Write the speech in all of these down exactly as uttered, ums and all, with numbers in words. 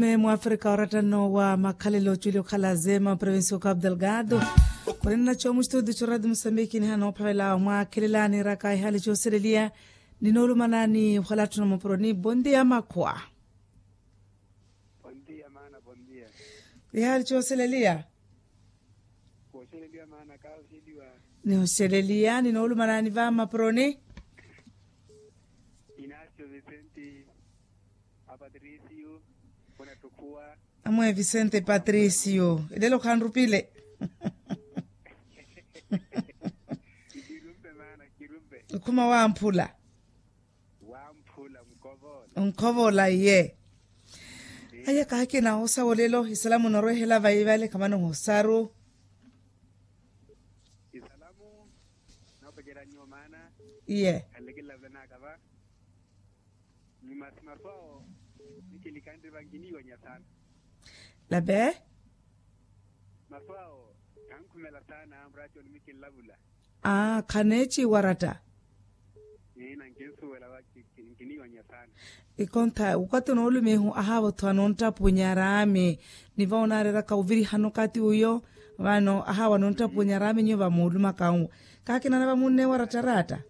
Mwaafrika oratta nno wa makhalelo oculi okhala zema provincia oka abdelgado. Khunina nacho mustudio cho radio musambiki nihana ophavela omwakhelela niiraka ihaali chooseleliya. Ninoolumana ni ohwala atthu na mapuroni bondia makhwa. Ihaali chooseleliya. Nihosheleliya ninoolumana ni va mapuroni. Inacio vicente, apatricio, kuna tukhuwa. Amwe vicente patricio elelo khanrupile. Ikhuma wamphula. Onkhovola iye. Aya kaakina osa wolelo isalamu norwehela vaivale khamana ohosaru. Isalamu. Noopecerya nyuwo maana. Iye. Khanlekelela vula naakava. Ni masi masu awo. Nikilikanriva nkiniiwanya saana. Lape. Masu awo. Khankhumela saana muraati onimukinlavula. Aa khaneeciwa oratta. Ina nkinsuwela wa nkiniiwanya saana. Ikontha okathi onoolumihu ahaava othu anoonttapunya araami. Ni va onaareeraka ovirihana okathi uyo. Vano ahaava anoonttapunya araami nyuwo vamoolumaka nwo. Kaakina nava munneewa oratta aratta.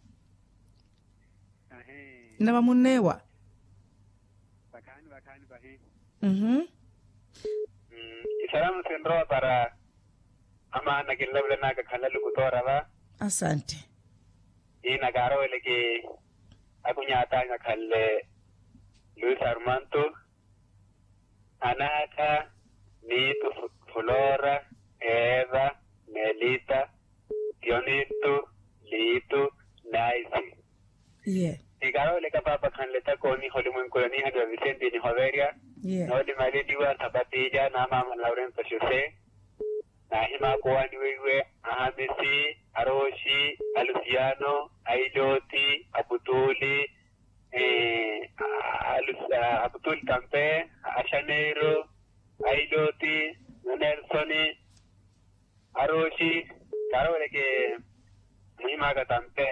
Nava munneewa. Vakhaani vakhaani vahi. Isalamu sinrowa para. Amaana kinlavula naaka khanla lukutoora va. Asante. Ina kaaroweleke. Akunyatanya khanle luis armanto. Anaka nitu, flora, eva, melita, tionitu, litu, naisi. Iye. Nikarooleka paapa khanleta kooniha olimwenku oniihaniwa visenti nihoverya. Iye. Noolimaleliwa sapatilya na maama laurenso xosé. Naahimaakowaaniweiwe, ahamisi, arooxi, alusiyano, ailoti, aputuli, aputuli tampe, axaneiro, ailoti, anelsoni, arooxi. Kaaroweleke muhimaaka tampe.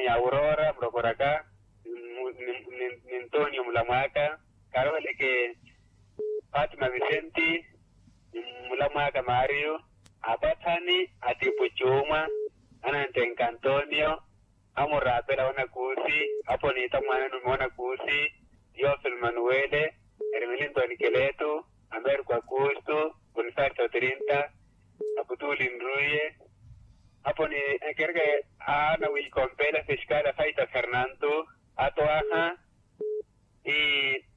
Aurora murokoraka, ni ntonio mulamwaaka. Kaaroweleke, fatima visenti, ni mulamwaaka mario, apathani, atipu cuumwa, anantenka antonio, amuraapela wanakuusi, apo niita mwaana nume wanakuusi, tiofilo manuwele, ermilintoni keletu, ameriko akuustu, bonifacio trinta, aputuli nruye, apo ni ekereke, aana wiikompela fiskali afaita fernanto, atwaha.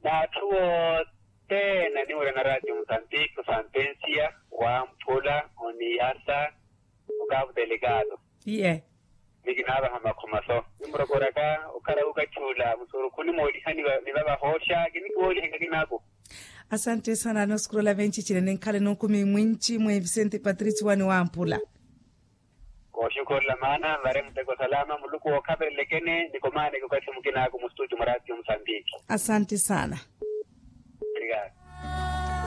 N'atthu othene aniwira na ratio mosambiki osampensia, wamphula, oniyasa, okavu delikado. Iye. Ni kinaavaha makhomaso nimurokoraka okhala wukatthula musurukhu nimoolihaniwa ni vavahooxa kinikiwoolihenka kinaako. Asante sana anosukurola venci cine ninkhala enookumi mwinci mwe visente patricio wani wamphula. Kooxukurola maana nvare muteko salama muluku wookhaperelekene nikomaaneke okathi mukinaaku mustudio mwa ratio musambiki. Asante sana. Obrigado.